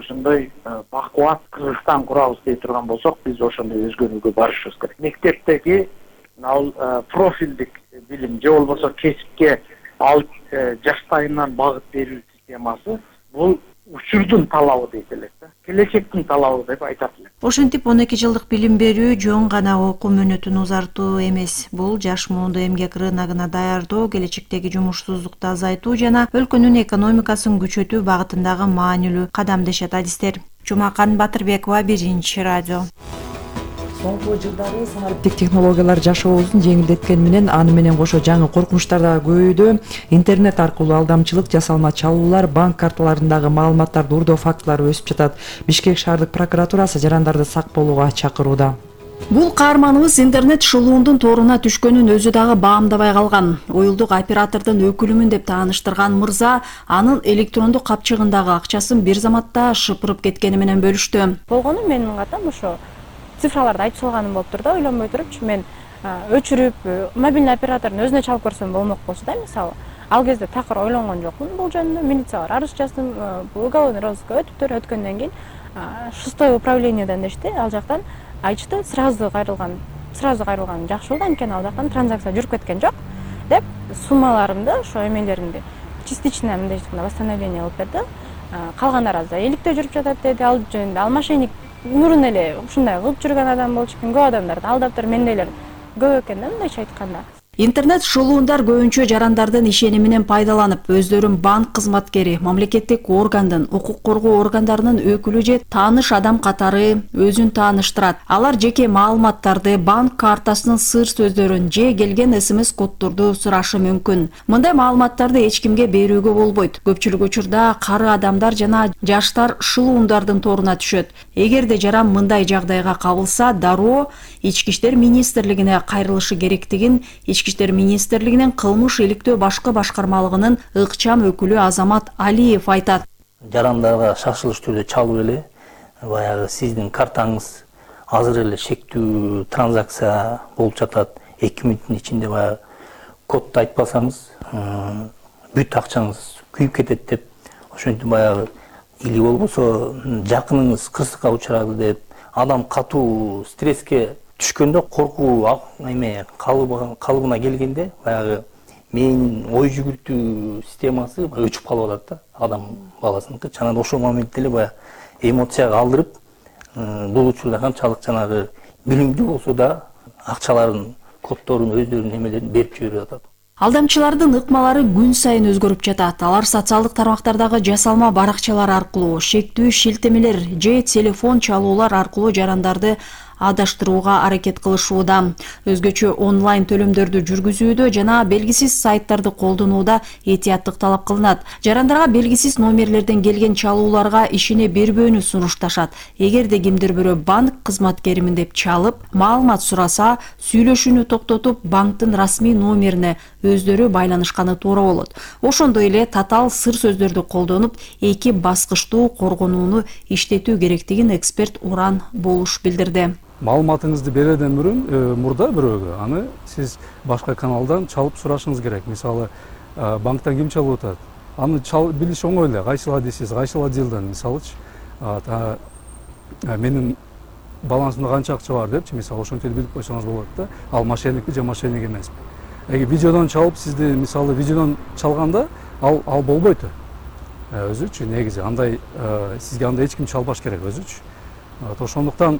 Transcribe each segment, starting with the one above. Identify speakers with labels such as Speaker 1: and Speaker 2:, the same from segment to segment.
Speaker 1: ошондой бакубат Кыргызстан курабыз дей турган болсок, биз ошондой өзгөрүүгө барышыбыз керек. Мектептеги ал профилдик билим же болбосо кесипке алып жаштайынан багыт берүү системасы бул учурдун талабы дейт элек да. Келечектин талабы деп айтат элек.
Speaker 2: Ошентип 12 жылдык билим берүү жөн гана окуу мөөнөтүн узартуу эмес. Бул жаш муунду эмгек рыногуна даярдоо, келечектеги жумушсуздукту азайтуу жана өлкөнүн экономикасын күчөтүү багытындагы маанилүү кадам дешет адистер. Жумакан Батырбекова, Биринчи радио.
Speaker 3: Соңку жылдары санариптик технологиялар жашообузду жеңилдеткени менен аны менен кошо жаңы коркунучтар да көбөйдү. Интернет аркылуу алдамчылык, жасалма чалуулар, банк карталарындагы маалыматтарды уурдоо фактылары өсүп жатат. Бишкек шаардык прокуратурасы жарандарды сак болууга чакырууда.
Speaker 4: Бул каарманыбыз интернет шылуундун торуна түшкөнүн өзү дагы баамдабай калган. Уюлдук оператордун өкүлүмүн деп тааныштырган мырза анын электрондук капчыгындагы акчасын бир заматта шыпырып кеткени менен бөлүштү.
Speaker 5: Болгону менин катам ошо цифраларды айтып салганым болуптур да, ойлонбой турупчу мен өчүрүп мобильный оператордун өзүнө чалып көрсөм болмок болчу да, мисалы. Ал кезде такыр ойлонгон жокмун бул жөнүндө. Милицияга арыз жаздым, уголовный розыскка өтүптүр. Өткөндөн кийин 6-й управлениеден дешти. Ал жактан айтышты, сразу кайрылган жакшы болду, анткени ал жактан транзакция жүрүп кеткен жок деп суммаларымды, ошо эмелеримди частично мындай восстановление кылып берди. Калгандары азыр эликтөө жүрүп жатат деди. Ал жөнүндө ал мошенник мурун эле ушундай кылып жүргөн адам болчу экен, көп адамдарды алдаптыр, мендейлер көп экен да, мындайча айтканда.
Speaker 4: Интернет шылуундар көбүнчө жарандардын ишениминен пайдаланып, өздөрүн банк кызматкери, мамлекеттик органдын, укук коргоо органдарынын өкүлү же тааныш адам катары өзүн тааныштырат. Алар жеке маалыматтарды, банк картасынын сыр сөздөрүн же келген СМС коддорду сурашы мүмкүн. Мындай маалыматтарды эч кимге берүүгө болбойт. Көпчүлүк учурда кары адамдар жана жаштар шылуундардын торуна түшөт. Эгерде жаран мындай жагдайга кабылса, дароо Ички иштер министрлигине кайрылышы керектигин Ички иштер министрлигинин кылмыш иликтөө башкы башкармалыгынын ыкчам өкүлү Азамат Алиев айтат.
Speaker 6: Жарандарга шашылыш түрдө чалып эле баягы сиздин картаңыз азыр эле шектүү транзакция болуп жатат. 2 мүнөттүн ичинде баягы кодду айтпасаңыз бүт акчаңыз күйүп кетет деп, ошентип баягы или болбосо жакыныңыз кырсыкка учурады деп, адам катуу стресске түшкөндө, коркуу калыбына келгенде баягы менин ой жүгүртүү системасы өчүп калып атат да, адам баласыныкы. Жана ошол моментте эле баягы эмоцияга алдырып, бул учурда канчалык жанагы билимдүү болсо да акчаларын, коддорун, өздөрүнүн эмелерин берип жиберип атат.
Speaker 4: Алдамчылардын ыкмалары күн сайын өзгөрүп жатат. Алар социалдык тармактардагы жасалма баракчалар аркылуу, шектүү шилтемелер же телефон чалуулар аркылуу жарандарды адаштырууга аракет кылышууда. Өзгөчө онлайн төлөмдөрдү жүргүзүүдө жана белгисиз сайттарды колдонууда этияттык талап кылынат. Жарандарга белгисиз номерлерден келген чалууларга ишене бербөөнү сунушташат. Эгерде кимдир бирөө банк кызматкеримин деп чалып, маалымат сураса, сүйлөшүүнү токтотуп, банктын расмий номерине өздөрү байланышканы туура болот. Ошондой эле татаал сыр сөздөрдү колдонуп, 2 баскычтуу коргонууну иштетүү керектигин эксперт Уран Болуш билдирди.
Speaker 7: Маалыматыңызды берүүдөн мурда бирөөгө аны сиз башка каналдан чалып сурашыңыз керек. Мисалы, банктан ким чалып атат? Аны билиш оңой эле. Кайсыл адисиз, кайсыл отделден, мисалычы, менин балансымда канча акча бар депчи, мисалы, ошентип билип койсоңуз болот да. Ал мошенникпи же мошенник эмеспи? Эгер видеодон чалып, сизди, мисалы, видеодон чалганда ал болбойт. Өзүчү негизи андай сизге андай эч ким чалбаш керек өзүчү. Ошондуктан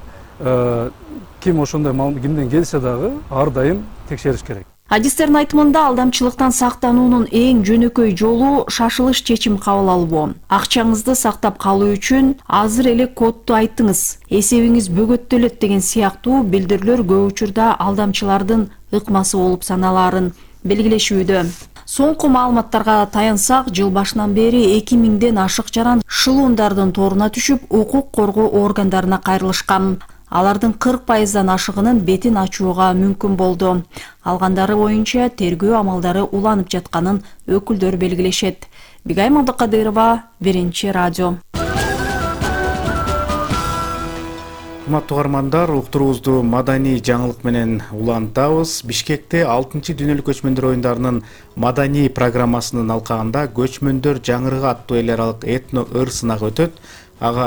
Speaker 7: ким ошондой кимден келсе дагы ар дайым текшериш керек.
Speaker 4: Адистердин айтымында алдамчылыктан сактануунун эң жөнөкөй жолу шашылыш чечим кабыл алуу. Акчаңызды сактап калуу үчүн азыр эле кодду айттыңыз, эсебиңиз бөгөттөлөт деген сыяктуу билдирүүлөр көп учурда алдамчылардын ыкмасы болуп саналаарын белгилешүүдө. Соңку маалыматтарга таянсак, жыл башынан бери 2000ден ашык жаран шылуундардын торуна түшүп, укук коргоо органдарына кайрылышкан. Алардын 40%дан ашыгынын бетин ачууга мүмкүн болду. Алгандары боюнча тергөө амалдары уланып жатканын өкүлдөр белгилешет. Бигайым Абдыкадырова, Биринчи радио.
Speaker 8: Урматтуу угармандар, уктуруубузду маданий жаңылык менен улантабыз. Бишкекте 6-дүнөлүк көчмөндөр оюндарынын маданий программасынын алкагында көчмөндөр жаңырыгы аттуу эл аралык этно ыр сынагы өтөт. Ага